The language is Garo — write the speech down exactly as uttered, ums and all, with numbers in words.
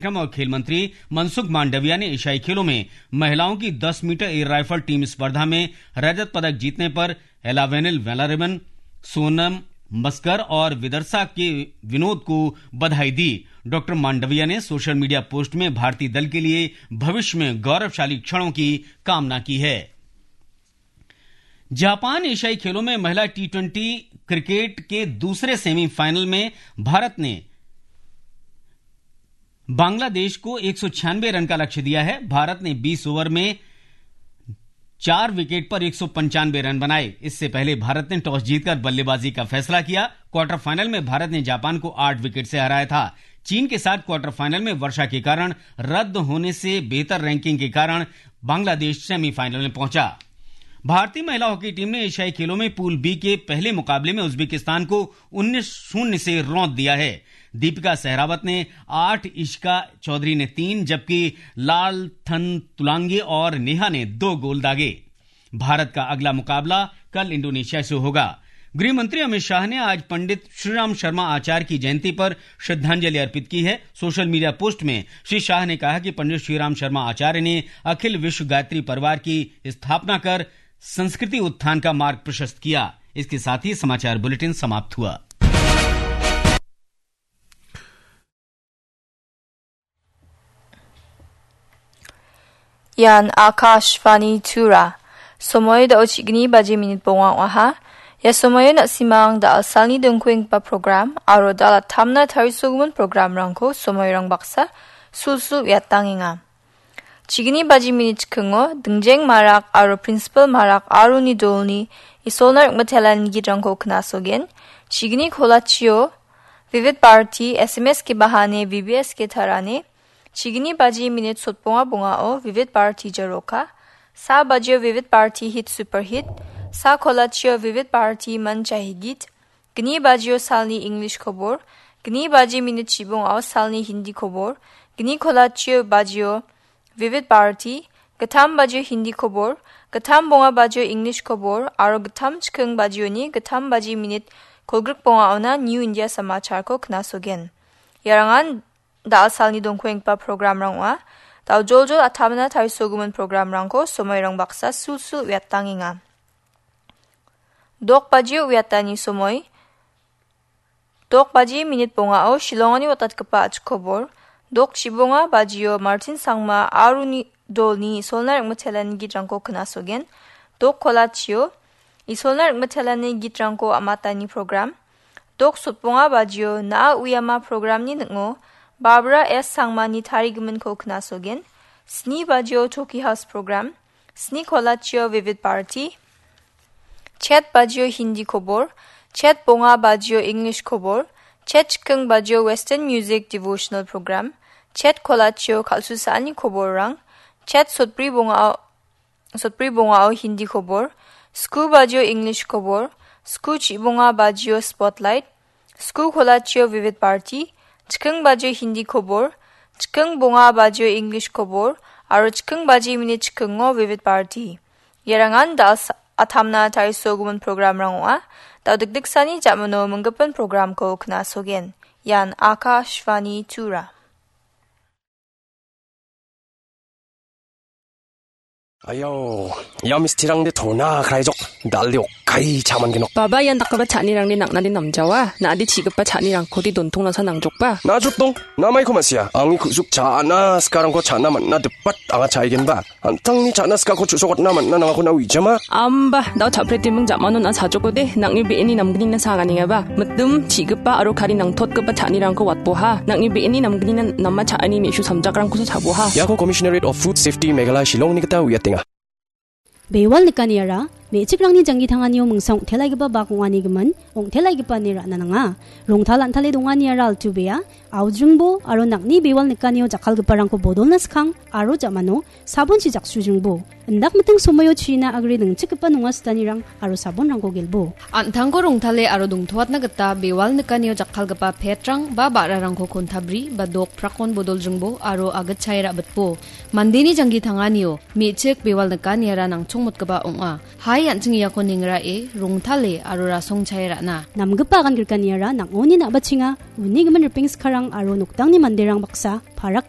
श्रम और खेल मंत्री मनसुख मांडविया ने एशियाई खेलों में महिलाओं की दस मीटर एयर राइफल टीम स्पर्धा में रजत पदक जीतने पर एलावेनिल वेलारिवन, सोनम मस्कर और विदर्शा के विनोद को बधाई दी। डॉक्टर मांडविया ने सोशल मीडिया पोस्ट में भारतीय दल के लिए भविष्य में गौरवशाली क्षणों की कामना की है। जापान एशियाई खेलों में महिला टी ट्वेंटी क्रिकेट के दूसरे सेमीफाइनल में भारत ने बांग्लादेश को एक सौ छियानवे रन का लक्ष्य दिया है। भारत ने बीस ओवर में चार विकेट पर एक सौ पंचानवे रन बनाए। इससे पहले भारत ने टॉस जीतकर बल्लेबाजी का फैसला किया। क्वार्टर फाइनल में भारत ने जापान को आठ विकेट से हराया था। चीन के साथ क्वार्टर फाइनल में वर्षा के कारण रद्द होने से बेहतर रैंकिंग के कारण बांग्लादेश सेमीफाइनल में पहुंचा। भारतीय महिला हॉकी टीम ने एशियाई खेलों में पूल बी के पहले मुकाबले में उज्बेकिस्तान को उन्नीस शून्य से रौंद दिया है। दीपिका सहरावत ने आठ, इशिका चौधरी ने तीन, जबकि लालथनतुलांगे और नेहा ने दो गोल दागे। भारत का अगला मुकाबला कल इंडोनेशिया से होगा। गृह मंत्री अमित शाह ने आज पंडित श्रीराम शर्मा आचार्य की जयंती पर श्रद्धांजलि अर्पित की है। सोशल मीडिया पोस्ट में श्री शाह ने कहा कि पंडित श्रीराम शर्मा आचार्य ने अखिल विश्व गायत्री परिवार की स्थापना कर संस्कृति उत्थान का मार्ग प्रशस्त किया। इसके साथ ही समाचार बुलेटिन समाप्त हुआ। Ian Akashvani Tura. Somoi da·o chi·gni baji minit bonga ong·aha. Ia somoio na·simang da·alsalni dongkuenggipa program aro da·alatamna tarisogimin programrangko somoirang baksa sulsul uiatangenga. Chi·gni baji minit chikingo dingjeng marak aro principal marak aroni dolni Isolna ring·mitelanni gitrangko knasogen. Chi·gni kolachio Vivid Bharati, S M S ke bahane, V B S ke tarane. Chi·gni baji minit sotbonga bongao Vivid Bharati jaroka. Sa bajio Vivid Bharati hit super hit. Sa kolachio Vivid Bharati manchahi git. Gni bajio salni English kobor, gni baji minit chibongao salni Hindi kobor, gni kolachio bajio Vivid Bharati, gittam bajio Hindi kobor, gittam bonga bajio English kobor, aro gittam chiking bajioni gittam baji minit kolgrik bongaona New India Samacharko knasogen. Iarangan da·al salni dongkuenggipa programrang ong·a. Da·o joljol atamna tarisogimin programrangko somoirang baksa sulsul uiatangenga. Dok bajio uiatani somoi. Dok baji minit bongao Shillongoni watatgipa a·chik kobor. Dok chibonga bajio Martin Sangma aroni dolni Isolna ring·mitelanni gitrangko knasogen. Dok kolachio Isolna ring·mitelanni gitrangko am·atani program. Dok sotbonga bajio Na·a Uiama programni ning·o Barbara S Sangmani tarigiminko knasogen. Sni bajio Choki House program. Sni kolachio Vivid Bharati. Chet bajio Hindi kobor. Chet bonga bajio English kobor. Chet chiking bajio Western Music Devotional Program. Chet kolachio kal·susaani koborrang. Chet sotbri bongao, sotbri bongao Hindi kobor. Sku bajio English kobor. Sku chibonga bajio Spotlight. Sku kolachio Vivid Bharati, chiking bajio Hindi kobor, chiking bonga bajio English kobor, aro chiking baji minit chikingo Vivid Bharati. Iarangan da·al sa-, atamna tarisogimin programrang ong·a. Da·o dikdiksani ja·mano minggipin programko knasogen. Ian Akashvani Tura. Ayo, ia mistirangde tona kraijok, dalde okkai chaman genok. Baba, ian dakgipa cha·nirangde nang·nade namjawa, na·ade chi·gipa cha·nirangkode dontongnasa nangjokba. Na·a jotdong, na·maiko ma·sia, angni ku·suk cha·na sikarangko cha·na man·na dipat anga cha·aigenba. An·tangni cha·na sikako chu·sokatna man·na nangako na uijama. Amba, da·o cha·pretiming ja·mano na·a chajokode, nang·ni be·eni namgnina saganengaba. Mitim, chi·gipa aro kari nangtotgipa cha·nirangko watboha. Nang·ni be·eni namgnina nama cha·ani me·su samjakrangkosa chaboha. Iako Commissionerate of Food Safety Meghalaya Shillongni gita uiatenga. Bewal nikaniara, me·chikrangni janggi tanganio mingsa ong·telaigipa bak ong·anigimin, ong·telaigipa ine ra·na nanga. Rongtal an·tale donganiara altu bea, audringbo aro nang·ni bewal nikanio jakkalgiparangko bodolna skang aro ja·mano sabonchi jaksujringbo. Indak miting somoio china agre ningchikgipa nonga sitanirang aro sabonrangko gelbo. An·tangko rongtale aro dongtoatna gita bewal nikanio jakkalgipa petrang ba ba·rarangko kontabri ba dok prakon bodoljringbo aro agitchae ra·bitbo. Mandeni janggi tanganio me·chik bewal nikaniara nangchongmotgipa ong·a. Hai an·ching iako nengrae, rongtale aro rasongchae ra·na. Namgipa agan grikaniara nang·oni na·bachenga, uni gimin ripeng skarang aro noktangni manderang baksa parak